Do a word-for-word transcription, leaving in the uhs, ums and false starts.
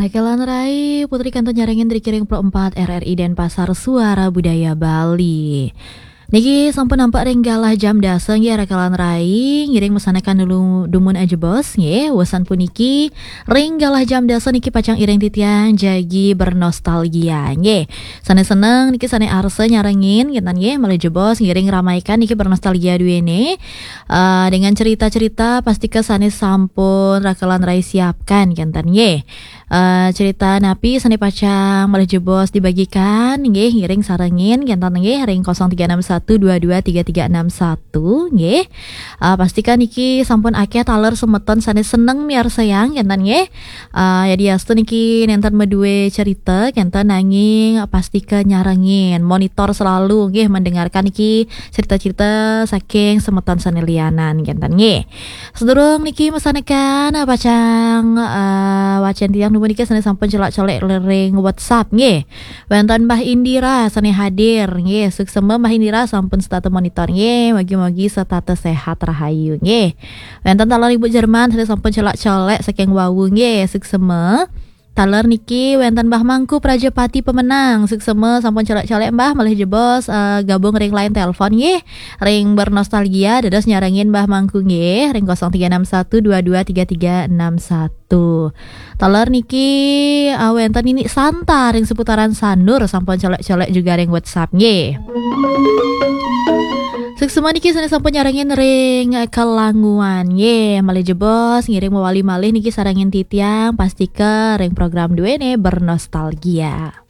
Rakelan rai, Putri kantun nyarengin ring Pro empat R R I Denpasar, Suara Budaya Bali. Niki sampun nampak ring galah jam dasa nggih, rakelan rai, ngiring masanekan dulu dumun ajebos nggih. Wusan puniki ring galah jam dasa niki pacang iring titiang jagi bernostalgia nggih. Sane seneng niki sane arsa nyarengin kinten nggih, malih jebos ngiring ramaikan niki bernostalgia duene. Eh, dengan cerita-cerita pastika sane sampun rakelan rai siapkan kinten nggih. Eh, cerita napi sane pacang malih jebos dibagikan nggih, ngiring sarengin kinten nggih ring kosong tiga enam satu dua dua tiga tiga enam satu nggih. Eh, pastika niki sampun akeh taler semeton sane seneng miarsayang kinten nggih. Eh, yadiastu niki nenten madue cerita kinten nanging pastika nyarengin, monitor selalu nggih, mendengarkan niki cerita-cerita saking semeton sane lianan kinten nggih. Sedurung niki masanekan, eh, pacang, eh, wacen tiang dumun niki sane sampun celak-colek ring WhatsApp nggih. Wenten Mbah Indira sane hadir nggih. Suksema Mbah Indira sampun setata monitor nggih. Mugi-mugi setata sehat rahayu nggih. Wenten taler Ibu Jerman sane sampun celak-colek saking wau nggih. Suksema. Taler niki wenten Mbah Mangku Prajapati Pemenang. Suksema sampun celak-colek Mbah, malih jebos, eh, gabung ring line telepon nggih. Ring bernostalgia dados nyarengin Mbah Mangku nggih ring kosong tiga enam satu dua dua tiga tiga enam satu. Taler niki, eh, wenten Nini Santa ring seputaran Sanur sampun celak-celek juga ring WhatsApp nggih. Suksema niki sane sampun nyarengin ring Kelanguan nggih, malih jebos ngiring mawali malih niki sarengin titiang, pastika ring program duene bernostalgia.